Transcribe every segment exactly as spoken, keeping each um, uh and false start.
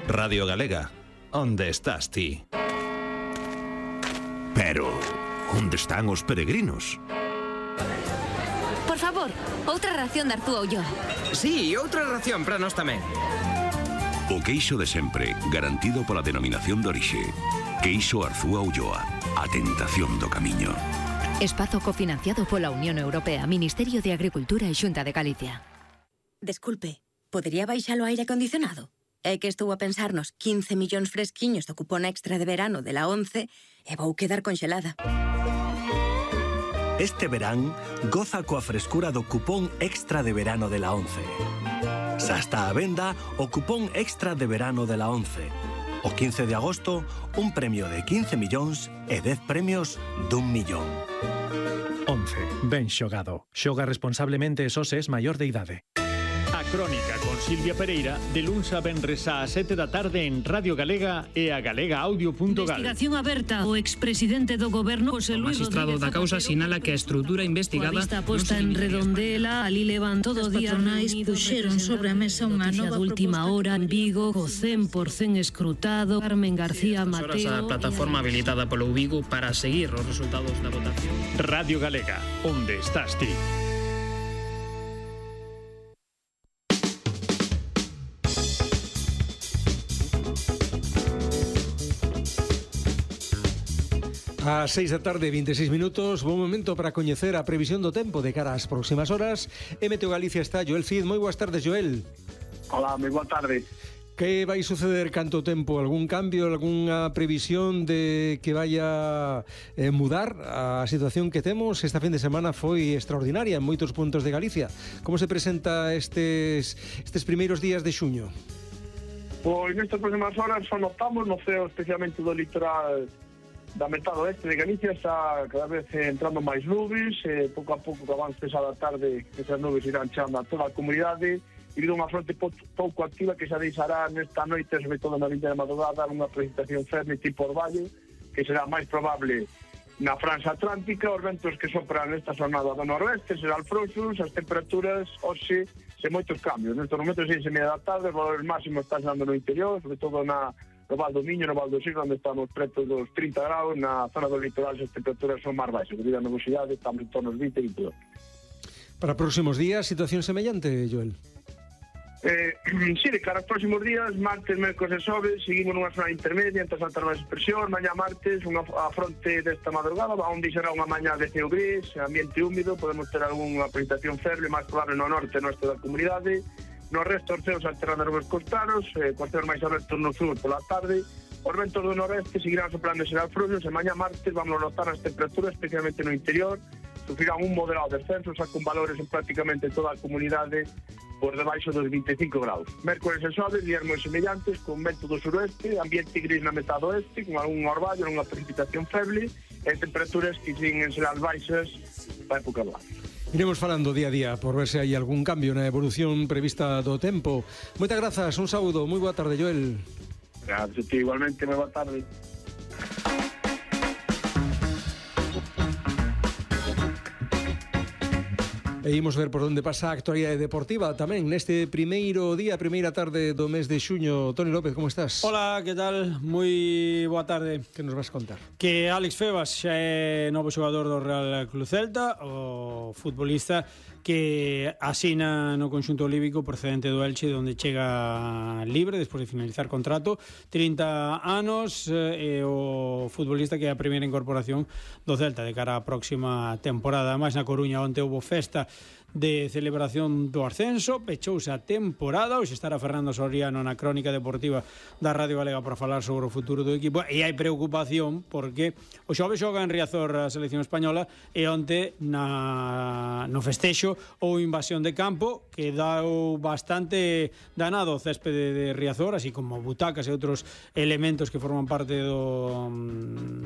Radio Galega, onde estás ti? Pero, onde están os peregrinos? Por favor, outra ración de Arzúa Ulloa. Sí, outra ración para nós tamén. O queixo de sempre, garantido pola denominación de orixe. Queixo Arzúa Ulloa, a tentación do camiño. Espazo cofinanciado pola Unión Europea, Ministerio de Agricultura e Xunta de Galicia. Desculpe, podería baixar o aire acondicionado? É que estou a pensar nos quince millóns fresquiños do cupón extra de verano de la once e vou quedar conxelada. Este verán, goza coa frescura do cupón extra de verano de la once. Xa está a venda o cupón extra de verano de la once. O quince de agosto, un premio de quince millóns e dez premios dun millón. once. Ben xogado. Xoga responsablemente e só se es maior de idade. A Crónica con Silvia Pereira, de luns a venres á sete da tarde en Radio Galega e a galega audio punto gal. Investigación aberta. O expresidente do goberno, José Luis O magistrado da causa sinala que a estrutura investigada... A vista posta en Redondela, ali levan todo o día... As patronais puxeron sobre a mesa unha nova última hora en Vigo, co cen por cen escrutado. Carmen García Mateo... Horas a plataforma habilitada polo Vigo para seguir os resultados da votación. Radio Galega, onde estás ti? A seis da tarde, vinte e seis minutos, bom momento para coñecer a previsión do tempo de cara ás próximas horas. E Meteo Galicia está Joel Cid. Moi boas tardes, Joel. Hola, moi boa tarde. Que vai suceder canto tempo? Algún cambio, algunha previsión de que vaya eh, mudar a situación que temos? Esta fin de semana foi extraordinaria en moitos puntos de Galicia. Como se presenta estes, estes primeiros días de xuño? Pois nestas próximas horas só notamos no ceo, especialmente do litoral da metade oeste de Galicia, está cada vez entrando máis nubes, e pouco a pouco que avance esa da tarde esas nubes irán chegando a toda a comunidade, e vindo unha fronte pouco activa que xa deixará nesta noite, sobre todo na liña de madrugada, unha precipitación firme tipo orvallo, que será máis probable na franxa atlántica. Os ventos que sopran nesta jornada do noroeste serán frouxos, as temperaturas hoxe sen moitos cambios. Nestes momentos seis e media da tarde, os valores máximos están dando no interior, sobre todo na no Val do Miño, no Val do Sil, onde estamos preto dos trinta graus. Na zona do litoral as temperaturas son máis baixas, debido á nubosidade estamos en torno aos vinte e vinte e dos. Para próximos días, situación semellante, Joel? Eh, sí, de cara aos próximos días, martes, mércores e xoves, seguimos nunha zona intermedia entre as altas baixas presión. Mañá martes, unha a fronte desta madrugada, onde será unha mañá de ceo gris, ambiente húmido, podemos ter algunha precipitación feble, máis probable no norte e norte da comunidade. No resto, os ceos alternando nubes costanos, eh, cos ceos máis abertos no sur pola tarde. Os ventos do noreste seguirán soplando e serán frouxos, e mañá martes vamos a notar as temperaturas, especialmente no interior, sufrirán un moderado descenso, xa con valores en prácticamente toda a comunidade por debaixo dos vinte e cinco graus. Mércores e xoves, días moi semellantes, con vento do suroeste, ambiente gris na metade oeste, con algún orvallo, unha precipitación feble, e temperaturas que siguen ser as baixas para época boa. Iremos falando día a día por ver se hai algún cambio na evolución prevista do tempo. Moitas grazas, un saúdo, moi boa tarde, Joel. Gracias, igualmente, moi boa tarde. E imos ver por onde pasa a actualidade deportiva tamén neste primeiro día, primeira tarde do mes de xuño. Toni López, como estás? Hola, que tal? Moi boa tarde. Que nos vas contar? Que Alex Febas xa é novo xogador do Real Club Celta, o futbolista que asina no conxunto olímpico procedente do Elche, onde chega libre despois de finalizar contrato, trinta anos, e o futbolista que é a primeira incorporación do Celta de cara á próxima temporada. Máis na Coruña, onde houve festa de celebración do ascenso, pechouse a temporada. Hoxe estará Fernando Soriano na crónica deportiva da Radio Galega para falar sobre o futuro do equipo, e hai preocupación porque o xove xoga en Riazor a selección española, e onte na, no festexo ou invasión de campo que deu bastante danado o céspede de Riazor, así como butacas e outros elementos que forman parte do,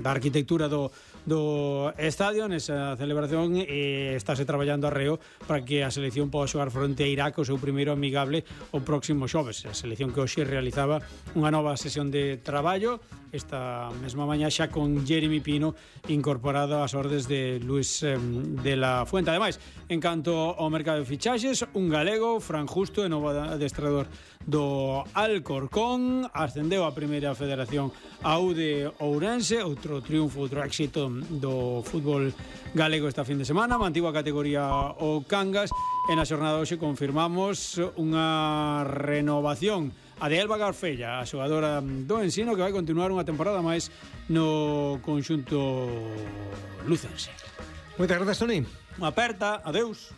da arquitectura do, do estadio nesa celebración, e estáse traballando arreo para para que a selección poda xogar fronte a Irak o seu primeiro amigable o próximo xoves. A selección que hoxe realizaba unha nova sesión de traballo esta mesma mañá xa con Jeremy Pino incorporado ás ordes de Luis eh, de la Fuente. Ademais, en canto ao mercado de fichaxes, un galego, Fran Justo, e novo adestrador do Alcorcón, ascendeu a primeira federación a U de Ourense, outro triunfo, outro éxito do fútbol galego esta fin de semana, mantivo a categoría o Cangas, e na xornada hoxe confirmamos unha renovación a de Elba Garfella, a xogadora do Ensino, que vai continuar unha temporada máis no conxunto lucense. Moitas grazas, Toni. Unha aperta, adeus.